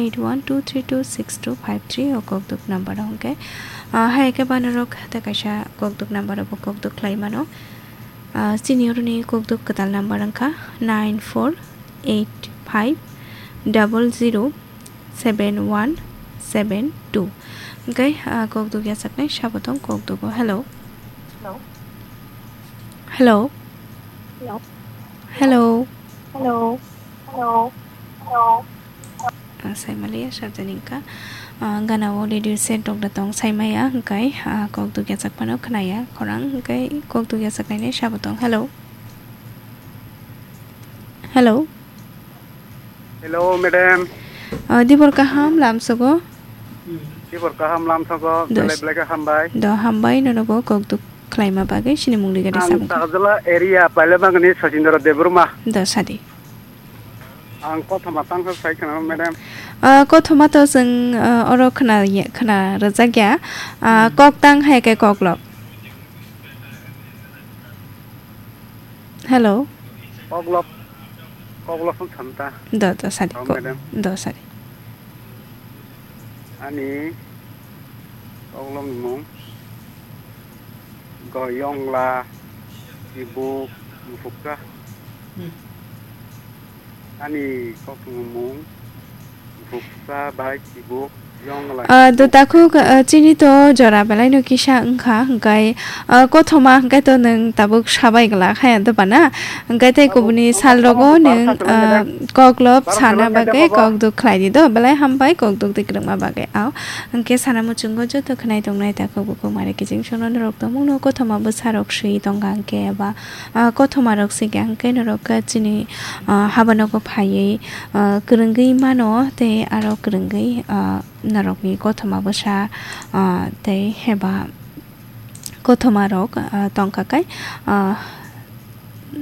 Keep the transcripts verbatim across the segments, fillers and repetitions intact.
eight one two three two six two five three o kokduk number o hwnkhe, ah, hai khe banorok tei kaisa kokduk number o bo kokduk khlai mano. Ah, chini oroni kokduk kwtal number wngkha nine four eight five double zero seven one seven two. Hwnkhe, ah, kokduk yachaknai sabo tong kokdugo. Hello. Hello. Hello. Hello. Hello. Hello. Hello. Hello. Ah, saimaliya sarjani wngkha. Ah, gana o radio set rok da tong saimaya, hwnkhe, ah, kokduk yachak phano khnaya khorang, hwnkhe kokduk yachaknaini sabo tong. Hello. Hello. Hello, madam. Ah, dibor kaham lamsogo? Dibor kaham lamsogo, Dos. Belai belai khe hambai. Do hambai, nono bo kokduk khlaima bagwi sini mungli gari Ang sabung. Sajala area Pailabangni Sachindra Debbarma. Do sadi. Ang kothoma tangsa sai khna, madam. Ah, kothoma to chwng, ah, oro khna, khna rwjak ya. Ah, Hmm. Kok tang hai khe koklop. Hello. Koklop, koklop phone samta. Do, do, sadi, Hello, ko-, madam. Do, sadi. Ani koklopni mung Goyongla, Ibuk, Mufuksa. Hmm. Ani koktwmung Mufuksa bai Ibuk. Ah, do takhuk, ah, chini to jora belai no kisa wngkha, hwnkhe, ah, kothoma hwnkhe to nwng tabuk sabai glak haya do bana, hwnkhe tei kubuni sal rogo nwng, ah, koklop sana bagwi kokduk khlai di do, belai hambai kokduk twi kwrwngma bagwi. Ao hwnkhe sana muchungo joto khwnai tongnai takhuk bukhuk mare kiching sono norok tongmung no kothoma bwsa rok swi tongkha hwnkhe eba, ah, kothoma rok swi kha hwnkhe norok chini, ah, haba nogo phaiwi, ah, kwrwngwi mano tei aro kwrwngwi, ah, norokni kothoma bwsa, ah, tei heba kothoma rok, ah, tongkha kai, ah,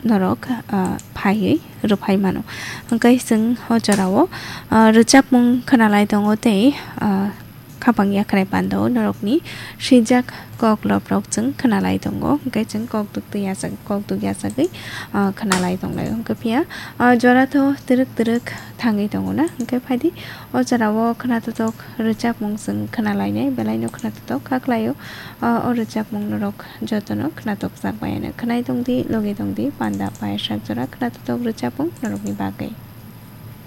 norok, ah, phaiwi rwphai mano. Hwnkhe chwng o jorao, ah, rwchapmung khwnalai tongo tei, ah, khapang yakrai pandao norokni swijak koklop rok chwng khwnalai tongo. Hwnkhe chwng kokduk twi yachak, kokduk yachagwi, ah, khwnalai tonglai. Hwnkhe phiya, ah, jora tho twrwk twrwk thangwi tongo na. Hwnkhe phaidi o jorao khwnatotok rwchapmung chwng khwnalainai, belaino khwnatotok kha khlaio. Ah, o rwchapmung norok jotono khwnatokjak bai ano khwnai tongdi, logi tongdi, panda payasak jora khwnatotok rwchapmung norokni bagwi.